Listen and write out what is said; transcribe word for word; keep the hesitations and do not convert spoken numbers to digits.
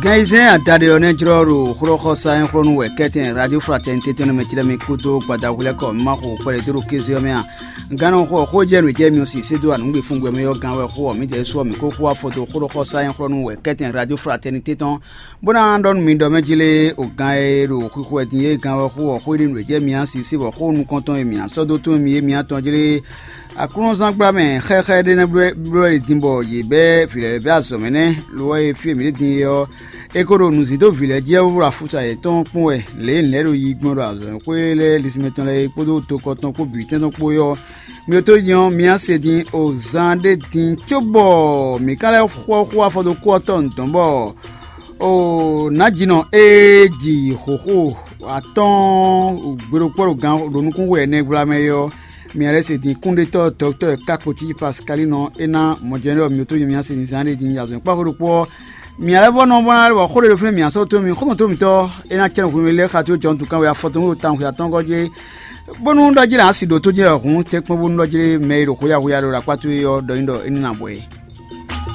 Gan ayizɛ́n adaɖé ɔ́ nɛ́ jlɔ́ ɖo xlɔ́xɔsá nyɛ́xlɔ́nú wɛ kɛ́tɛn Radio Fraternité tɔn nɛ́ mɛ cí ɖɔ mì kúdó gbadavú lɛ́ɛ kɔ má xo kpɛɖé dó ɖo kéze ɔ́ mɛ a? Gannɔ xɔ xó jɛ nǔ jɛ mi ɔ́ si sé dó anǔgbefúngbɛ́ mɛ ɔ́ gán wɛ xó ɔ́, mǐdɛɛ su ɔ́, mǐ ko xó afɔ dó xlɔ́xɔsá nyɛ́xlɔ́nú wɛ kɛ́tɛn Radio Fraternité tɔn, bó ná ɖɔ nú mi ɖɔ mɛ jí lé, o gán e ɖo xwixwɛ din é gán wɛ xó ɔ́, xó ɖi nǔ jɛ mi á si sí bɔ xó nukɔntɔn e mǐ á sɔ́ dó tún mi é mi á tɔn jí lé. Aklúnɔzán gbla mɛ xɛxɛ ɖé nɛ́ bló wɛ din bɔ yě bɛ́ vǐ lɛ́ɛ bɛ́ azɔ̌ mɛ nɛ́, lo ɔ́ e fí e mǐ ɖe din é ɔ́, è ko ɖo nǔzín dó vǐ lɛ́ɛ jí ɔ́, bó ɖo afúsa yětɔn kpɔ́n wɛ, lě e nǔ lɛ́ɛ ɖo yi gbɔn ɖo azɔ̌xwé lɛ́ɛ lisínmɛ tɔn lɛ́ɛ é kpódó tokɔ tɔn kpó bǐ tɛn tɔn kpó é ɔ́, mi ɔ́ tó nyí ɔ́, mi á se din o zan ɖé din cóbɔ mǐ ka lɛ́ xɔ xó afɔ dó kú ɔ́ tɔn nǔ tɔn bɔ o nǎjínɔ e ji xǒxo atɔ́ɔ́n gbéɖokpɔ́ ɖo gan ɖo nukún wɛ nɛgbla mɛ é ɔ́, mi lɛ́ se din kúnɖétɔ́ dɔktɔ́ kákpo cí Pasikalinɔ é ná mɔjɛnɛ́ ɔ́, mi ɔ́ tó nyí mi á se din zan ɖé din yi azɔ̌ kpáxwé ɖokpó ɔ́, mi lɛ́ vɔ́ nɔ bó ná bɔ xó ɖé ɖo fínɛ́ mi á sɔ́ tó mi xɔ́ntɔn tó mitɔ́ é ná cɛ́ nɔ hwenu lé xá tó jɔntu kan wɛ afɔ tɔn ɖo tawun xwe atɔ́ɔ́ngɔ́ jí bónú ɖɔ jí lě asi ɖǒ tó jɛ́n hǔn tɛ́nkpɔ́n bónú ɖɔ jí lé mɛ e ɖo xwéyáxwéyá ɖo ɖo akpá towe ɔ́ ɖɔ nyi ɖɔ é ní ná bɔ é.